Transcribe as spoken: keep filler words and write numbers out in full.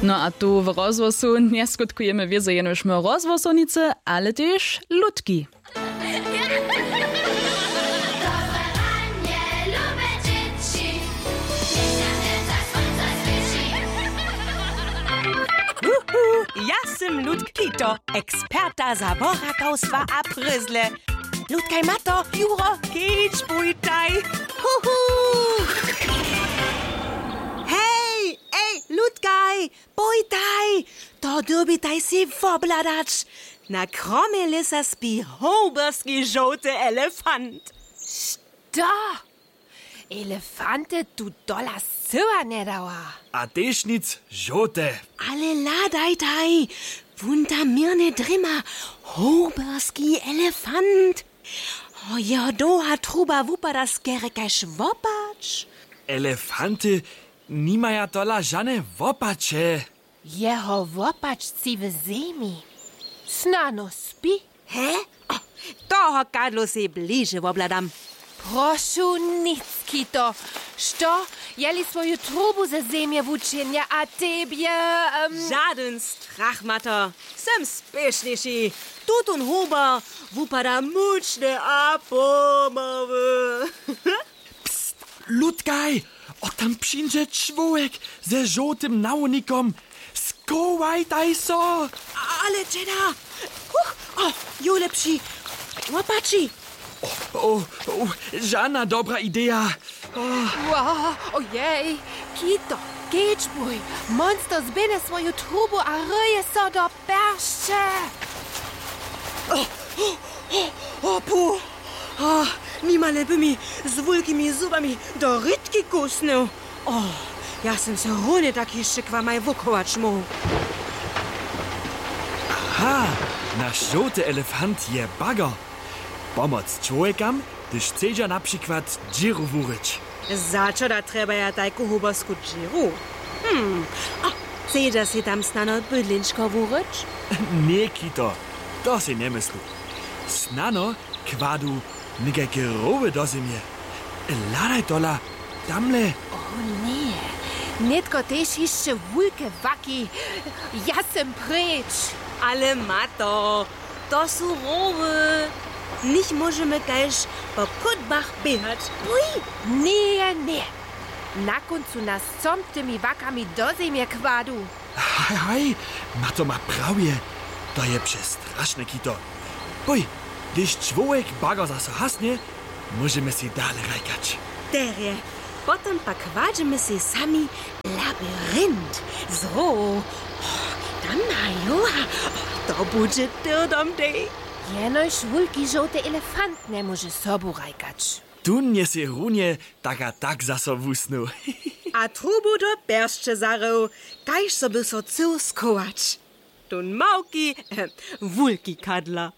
No a tu w rozhłosu njeskutkujemy wězo jenož my rozhłosownicy, ale tež lutki. Wuhu, ja sym Ludk Kito, eksperta za worakałstwa a pryzle. Ludkaj, mato, juro, kedźbujtaj. Huhu. Hej, ej, ludkaj, pójtaj, to dyrbitaj sej wobhladać. Na kromje lěsa spi hołberski žołty elefant. Što? Elefanty tu dola scyła njedawa. A tež nic žołte. Ale hladajtaj, wón tam měrnje drěma, hołberski elefant. Jeho dołha truba wupada skerje kaž wopać. Elefanty nimaja tola žane wopaće. Jeho wopatřci w zemi. Snano spi. He? O, toho kadlu sej bliže wobhladam. Prošu, nic, Kito. Što, jeli swoju trubu ze zemje wučinja a tebje, em, žadyn strach, mato. Sym spěšnjejši. Tutón hober wupada mučny a pomały. Pst, ludkaj, o, tam přińdźe čłowjek ze žołtym nawnikam. Schowajtaj so. Ale dźeda. Huch, o, jo lepši. Łopaći. O, o, o, žana dobra ideja. O. Wow, ojej, Kito, kedźbuj. Monster zběhne swoju trubu a rjeje so do peršće. O, o, o, o, pu. O, nimale by mi z wulkimi zubami do rědki kusnył. O, ja sym se runje tak hišće k wamaj wuchować móhł. Aha, naš žołty elefant je bager. Pomoc čłowjekam, hdyž chcedźa na přikład dźěru wuryć. Za čo da trjebaja tajku hobersku dźěru? Hm, a chcedźa sej tam snano bydlenčko wuryć? Ně, Kito, to sej njemyslu. Snano kładu někajke roły do zemje. Hladaj tola, tamle. O ně, nětko tež hišće wulke waki. Ja sym preč. Ale mato, to su roły. Nich móžemy kaž po kótbach běhać. Puj! Ně, ně. Na kóncu nas chcom tymi wakami do zemje kładu. Haj, haj, mato ma prawje. To je přestrašne, Kito. Pój, hdyž čłowjek bager zaso hasnje, móžemy sej dale hrajkać. Derje, potom pak kładźemy sej sami labyrint z row. O, tam majo, o, to budźe tyrdom dej. Jenož wulki žołty elefant njemóže sobu hrajkać. Tón je sej runje tak a tak zaso wusnył. A trubu do pjeršće zarył, kaž so by so chcył schować. Tón małki, eh, wulki kadla.